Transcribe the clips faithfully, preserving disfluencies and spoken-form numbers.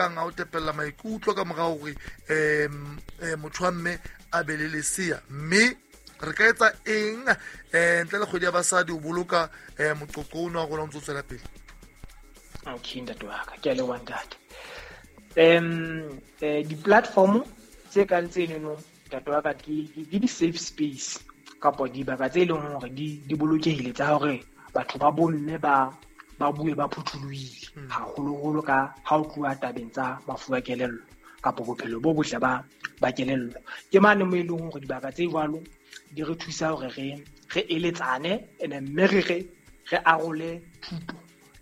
kang a o tepella maikutlo ka mora hore um motho wa mme a be le lesea, mme re ka etsa eng um ntle le kgwedi ya basadi o boloka um moqoqo ono wa rona o ntso tswela pele? Okay, ntate wa ka, ke a leboha ntate. Um eh, di-platform tse kang tsenono ntate wa ka ke di-safe space kapa dibaka tse leng hore di di bolokehile tsa hore batho ba bomme ba ba bue ba phuthulohile haholoholo ka ha o tluwa tabeng tsa mafu a kelello kapa bophelo bo botle ba ba kelello. Ke mane mo e leng hore dibaka tse jwalo di re thusa hore re re eletsane ene mme re re re arole thuto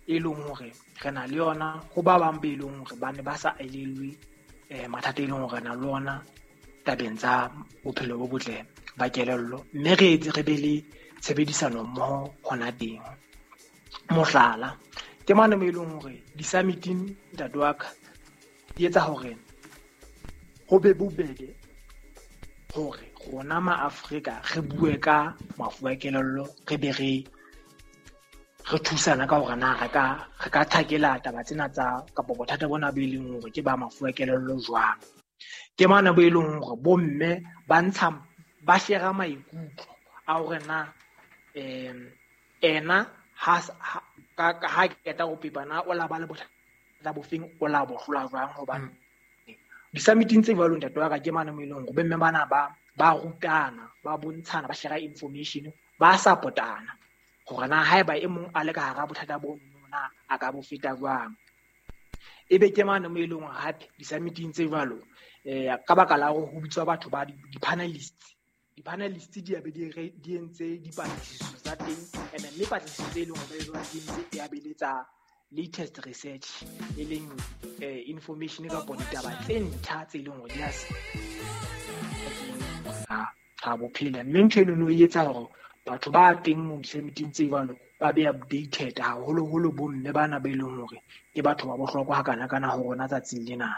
e leng hore re na le yona ho ba bang be leng hore ba ne ba sa elellwe eh mathata e leng hore re na le ona tabeng tsa bophelo bo botle ba kelello, mme re etse re be le tshebedisano mmoho hona teng. Mohlala, ke mane mo e leng hore di-summiting ntate wa ka di etsa hore ho be bobebe hore rona ma-Afrika re bue ka mafu a kelello, re be re re thusana ka hore na re ka re ka thakela taba tsena tsa kapa bothata bona bo e leng hore ke ba mafu a kelello jwang. Ke mane bo e leng hore bomme ba ntsha ba shera maikutlo a hore na um ena ha ka ha qeta ho pepa na o la ba le bothata bofeng, o la bo hlola jwang. Hobane di-summiting tse jwalo ntate wa ka ke mane mo e leng hore bomme bana ba ba rutana, ba bontshana, ba shera information, ba support-ana hore na haeba e mong a le ka hara bothata bo na a ka bo feta jwang. Ebe ke mane mo e leng hore hape di-summiting tse jwalo eh ka baka la hore ho bitswa batho ba di-panelists, di-panelists di a be di re di entse dipatlisiso tsa teng, and mme patlisiso tse e leng hore ba di entse e a be le tsa latest research, e leng eh, information kapa ditaba tse ntjha tse leng hore di a ha bophela. Mme ntho eno e etsa hore batho ba teng mo di-summiting tse jwalo ba be updated, haholoholo bomme bana ba e leng hore ke batho ba bohlokwa hakana-kana ho rona tsatsing lena.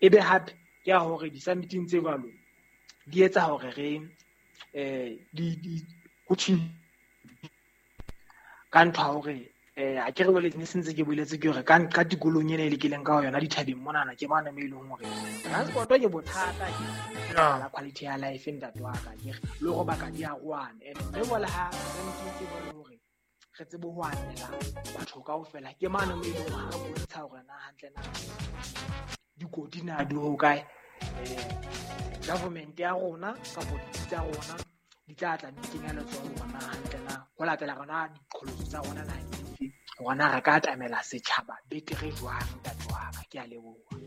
Ebe hape ke ya hore di-summiting tse jwalo di etsa hore re eh di di ho ka ntho ya hore eh a ke re jwale ne sentse ke boletse ke hore ka ka tikolong ena e le keleng ka yona dithabeng monana ke mane mo e leng hore transport ke bothata, ke la quality ya life ntate wa ka, ke le hore baka di a roana. Ene mme jwale ha sentse ke bone hore re tsebe ho anela batho kaofela, ke mane mo e leng hore re bontsha hore na hantle na dikoti na di ho kae, eh government ya rona kapa ditsi tsa rona di tla tla di kenya letsoho hore na hantle na ho latela rona diqholotso tsa rona na di rona re ka atamela setjhaba betere jwang ntate wa ka. Ke a leboha.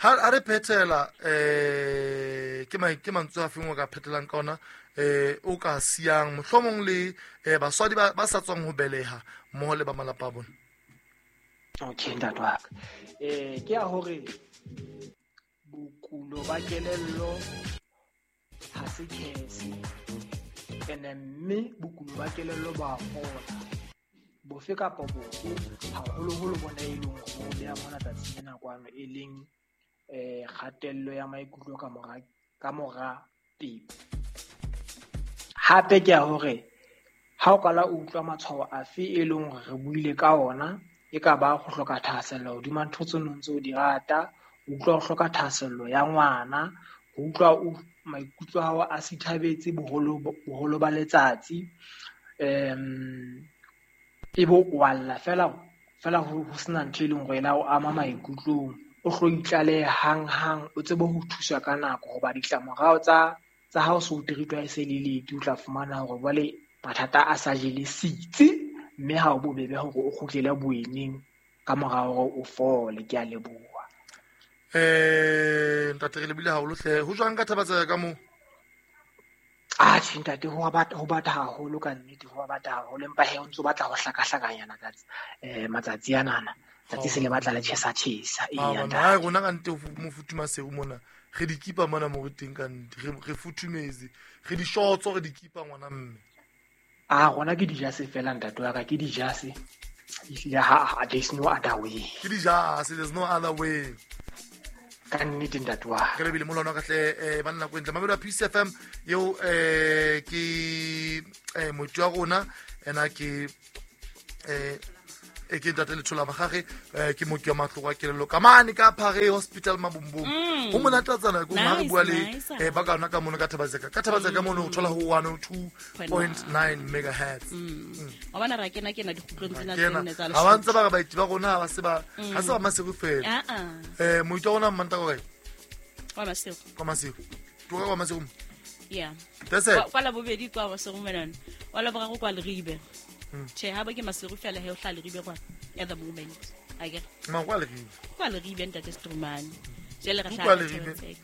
Ha re phethela eh ke ke mantswe a feng o ka phetelang ka ona eh o ka siyang mohlomong le baswadi ba sa tswang ho beleha mmoho le ba malapa a bona? Okay ntate wa ka, eh ke ya hore bokulo ba kelello ha se kese, ene mme bokulo ba kelello ba fola bofe kapa bofe, haholoholo bona e leng hore bo beha mona tsatsing lena kwano, e leng eh kgatello ya maikutlo ka mora ka mora pepo. Hape ke ya hore ha o qala o utlwa matshwao afe e leng hore re buile ka ona, e ka ba ho hloka thahasello hodima ntho tseo o ntse o di rata, ho utlwa ho hloka thahasello ya ngwana, ho utlwa o maikutlo a hao a sithabetse boholo boholo ba letsatsi, um e bo o alla fela fela ho sena ntho e leng hore e la o ama maikutlong, o hlo itlalehe hang-hang, o tsebe ho thuswa ka nako, hoba ditlamorao tsa tsa ha o so treatwa e se le late, o tla fumana hore jwale mathata a sa jele sitsi, mme ha o bobebe hore o kgutlele boeneng ka mora hore o fole. Ke a leboha. Eh ntate re lebile haholo hle. Ho jwang ka thaba tsa ka moo? Ah tjhe ntate, ho batla ho batla haholo ka nnete, ho batla haholo, empa he o ntso batla ho hlakahlakanyana ka eh matsatsi anana. Tsatsi se le batla le tjhesa tjhesa. Eya ntate. Rona ka nnete mo futhuma seo mona. Re di kipa mona mo re teng ka nnete. Re re futhumetse. Re di shorts re di kipa ngwana mme. Ah rona ke dijase fela ntate wa ka, ke dijase. Ehlile ha there's no other way. Ke dijase, there's no other way. Ka nnete ntate wa ka. Re lebile molwana ka hle eh banna ko ntle. Mamelo ya P C F M eo eh ke eh motho wa rona ena ke eh E ke ntate Lethola Magage, eh ke mooki wa mahloko a kelello ka mane ka Phare Hospital Mabumbung. Ho monate tsana ko ha re bua le eh ba ka ona ka mono ka Thabatseka. Ka Thabatseka mono o thola ho one oh two point nine megahertz. Wa bona ra kena kena dikgutlong tsena tse nne tsa Ha ba ntse ba re baeti ba rona ha ba se ba ha se ba Maseru fela. Ah ah. Eh moito wa rona Mmanta ko kae? Kwa Maseru. Kwa Maseru. Tloga kwa Maseru. Yeah. That's it. Kwa la bobedi kwa Maseru menana. Wa la boraro kwa Leribe. Che ha ba ke Maseru fela he o hla Leribe kwa at the moment. I get. Ma kwa Leribe. Kwa Leribe ntate Strumane. Jele re Kwa hla Leribe.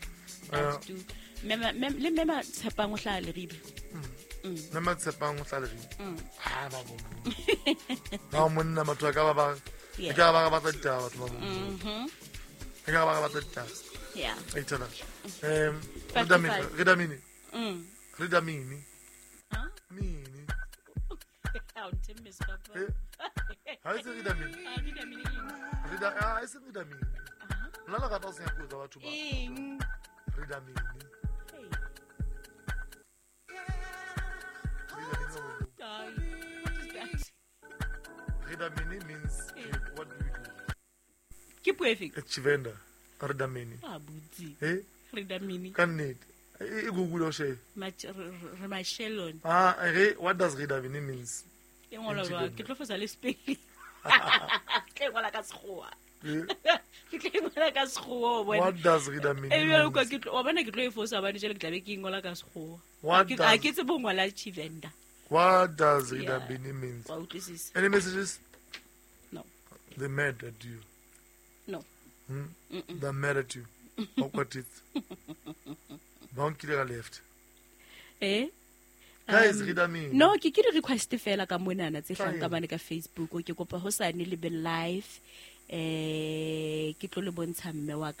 Mema le mema Tshepang o hla Leribe. Mema Tshepang o hla Leribe. Ah ba bo. Ba monna batho ba ka ba ba. Yeah. Ke ba ba batla ditaba batho ba bo. Mhm. Ke ba ba batla ditaba. Yeah. Itala. Ehm Five to Redamini, five. Redamini. Mm. Redamini. Huh? Mini. Ha o ntemme papa. Eh? Ha e se Redamini. Ah, Redamini ke eng? Reda ah e se Redamini. Ah. Nna le rata ho senya puo tsa batho ba. Eng? Redamini. Hey. Redamini wa bo. Ai, what is that? Redamini means Eh. what do you do? Ke puo efe? It's Tshivenda. Redamini. Ah, butsi. Eh? Redamini. Ka nnete. E e Google o she. Mach re mashelon. Ah, re what does Redamini means? Ke ngola jwang? Ke tlo fosa le spelling. Ke ngola ka Sekgowa. Eh? Ke tlo ngola ka Sekgowa o bona. What does Redamini Eh, bjale kwa means? ke tlo wa bona ke tlo e fosa hobane jwale ke tla be ke ngola ka Sekgowa. What Ke does a ke tsebe ho ngola Tshivenda. What does Yeah. Redamini means? Wa utlwisisa? Any messages? No. They mad at you. No. Hmm? Mm-mm. They're mad at you. Awkward it. Ba o nkile ka left. Eh? Guys, Um, Redamini. No, ke ke di request fela ka monana tse hlang Tla ka eng? mane ka Facebook. Ke kopa ho sane le be live. Eh, ke tlo le bontsha mme wa ka